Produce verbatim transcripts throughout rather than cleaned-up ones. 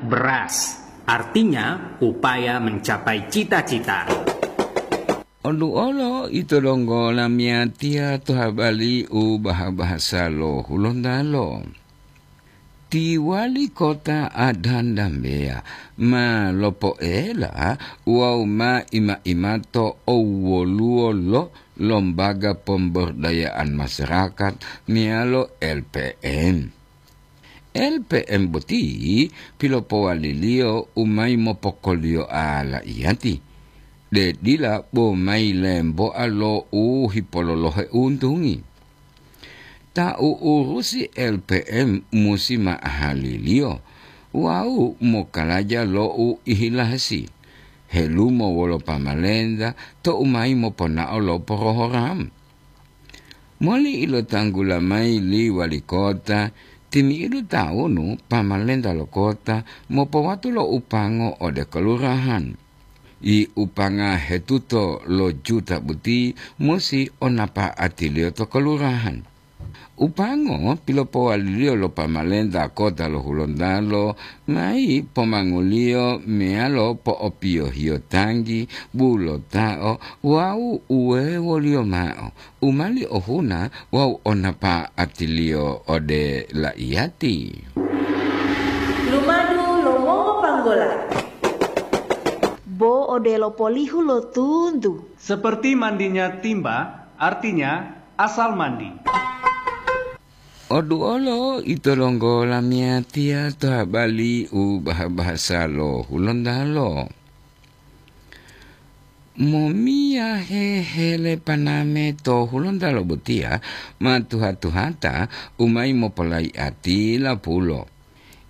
Beras, artinya upaya mencapai cita-cita. Olu'olo ito donggo lamiyatiya to habari u baha-bahasa lo Hulontalo. Ti wali kota Adan Dambeya ma lopoela wawu ma ima-imato owwoluwo lo Lembaga Pemberdayaan Masyarakat meyalo L P M. L P M boti pilopowaliliyo u mayi mopokoliyoa la'iyati, de dila bo mayi lemboa lo u hipololohe untungi. Ta u'urusi L P M musi ma'ahaliliyo wawu mokalaja lo u ihilasi, helumo wolo pamalenta tou mayi moponao lo porohoram. Moli ilotanggula mayi li wali kota, timi'idu tawunu pamalenta lo kota mopowatu lo upango ode kelurahan. I upanga hetuto lo juta boti musi o napa'atiliyo to kelurahan. Upango pilopowaliliyo lo pamalenta kota lo Hulontalo mayi pomanguliyo meyalo po'opiyohiyo tanggi, bulota'o wawu uwewoliyo mao u mali ohuna wawu o napa'atiliyo ode la'iyati. Lumadu lo mongopanggola. Bo odelo polihu lo tuntu. Seperti mandinya timba, artinya asal mandi. Oduolo ito donggo lamiyatiya to habari u baha-bahasa lo Hulontalo. Momiyahe hele paname to Hulontalo botiya ma tuha-tuhata u mayi mopolayi'ati lapulo.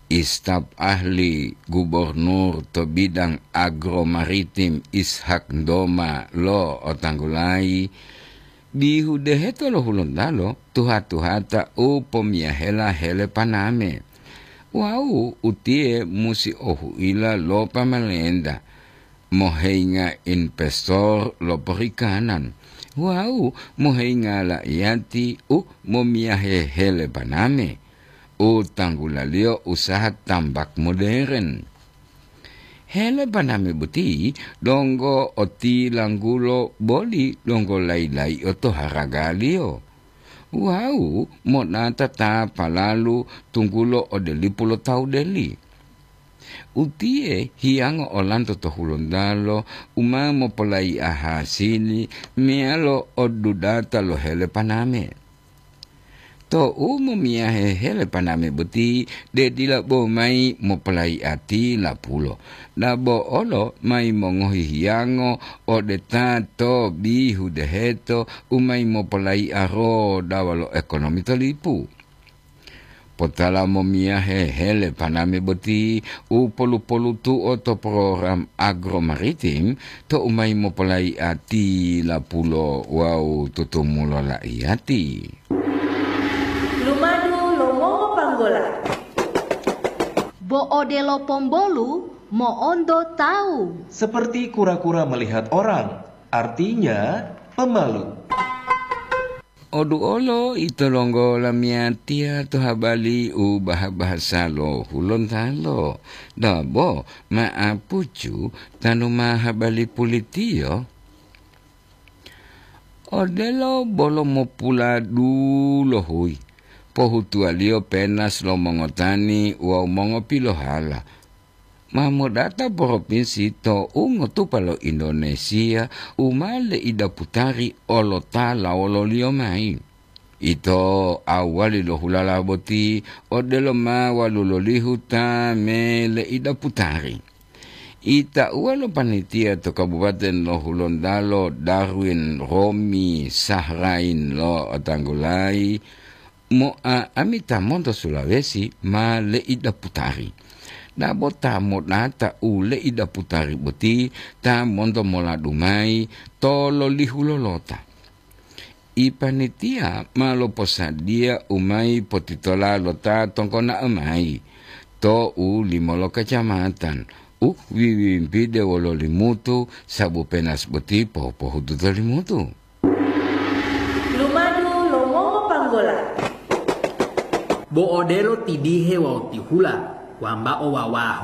Istaf ahli gubernur to bidang agro maritim Ishak Doma lo otanggulayi, bihu deheto lo Hulontalo tuha-tuhata u pomiyahela hele paname. Wawu utiye musi ohuila lo pamalenta, moheinga investor lo perikanan, wawu moheinga la'iyati u momiyahe hele paname, u tanggulaliyo usaha tambak moderen. Hele paname boti donggo otilanggulo boli donggo layi-layi'o to haragaliyo. Wawu monata ta palalu tunggulo ode lipu lo tawu deli. Utiye hiyango olanto to Hulontalo u ma mopolayi'a hasili meyalo odudata lo hele paname. Tou momiyahe hele paname boti, de dila bo mayi mopolayi'ati lapulo, dabo olo mayi mongohi hiyango ode ta to bihu deheto u mayi mopolayi'a rodawa lo ekonomi to lipu. Potala momiyahe hele paname boti u polu-polutu'o to program agro maritim tou mayi mopolayi'a tilapulo wawu tutumulo la'iyati. Lumadu lo mongopanggola. Bo odelo pombolu mo'onto tawu. Seperti kura-kura melihat orang, artinya pemalu. Oduolo ito donggo lamiyatiya to habari u baha-bahasa lo Hulontalo, dabo ma'apucu tanu ma habari pulitiyo. Odelo bolo mopuladuluhuyi, pohutuwaliyo penas lo mongotani wawu mongopilohala. Ma modata propinsi to ungotupa lo Indonesia u ma leidaputari olotala wololiyo mayi. Ito awali lo hulala boti odelo ma walulolihu ta me leidaputari. Itauwa lo panitia to Kabupaten lo Hulontalo Darwin Romi Sahrain lo otanggulayi, mo'a'amita monto Sulawesi ma leidaputari. Dabo ta modata u leidaputari boti ta monto moladu mayi to lolihu lolota. Ipanitia ma loposadiya u mayi potitola lo ta tonggona'o mayi to u limo lo kacamatan u wiwimpide wolo Limutu, sabu penas boti pohupohutu to Limutu. Lumadu lo mongopanggola. Bo odelo tidihe wawu tihula, wambao wawaho.